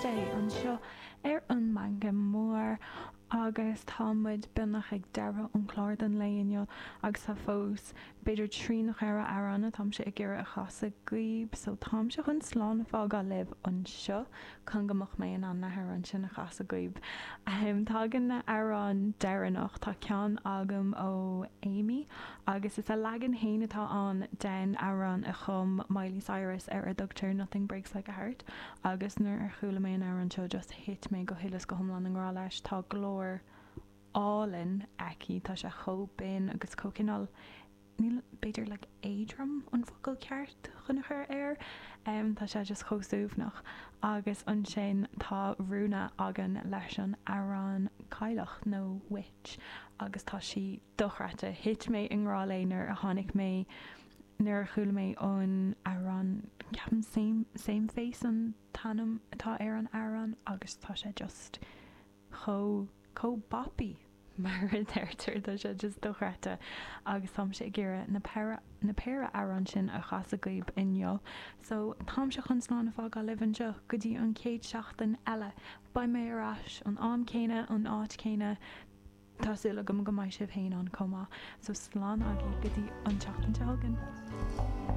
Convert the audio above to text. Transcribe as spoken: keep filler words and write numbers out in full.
Sé anseo ar an Meangadh Mór agus tá muid beagnach ag deireadh an chlár don lae inniu agus tá fós b'fhéidir trí nó ceithre amhrán atáimse ag iarraidh a chasadh daoibh so táimse chun slán a fhágáil libh anseo chun go mbeadh mé in ann na hamhráin sin a chasadh daoibh. Ahem tagann na hamhráin deireanach tá ceann agam ó Amy agus is a leagan féin atá ann den amhrán a chum Miley Cyrus ar a dtugtar Nothing Breaks Like a Heart agus nuair a chuala mé an amhrán seo just thit mé go huile is go hiomlán i ngrá leis tá glór álainn aici tá sé chomh binn agus chomh cineál níl b'fhéidir like éadrom an focal ceart chun a chur air um, tá sé just chomh suaimhneach agus ansin tá Rúna againn leis an amhrán Cailleach nó Witch agus tá sí dochreidte thit mé i ngrá léi nuair a tháinig mé nuair a chuala mé an amhrán ceapaim same same face an t-ainm atá ar an amhrán agus tá sé just chomh chomh boppy mar a deirtear tá sé just dochreidte agus táimse ag iarraidh na péire na péire amhrán sin a chasadh daoibh inniu so táimse chun slán a fhágáil libh anseo go dtí an chéad seachtain eile beidh mé ar ais an am céanna an áit céanna Tá súil agam go mbeidh sibh féin ann chomh maith so slán agaibh go dtí an tseachtain seo chugainn.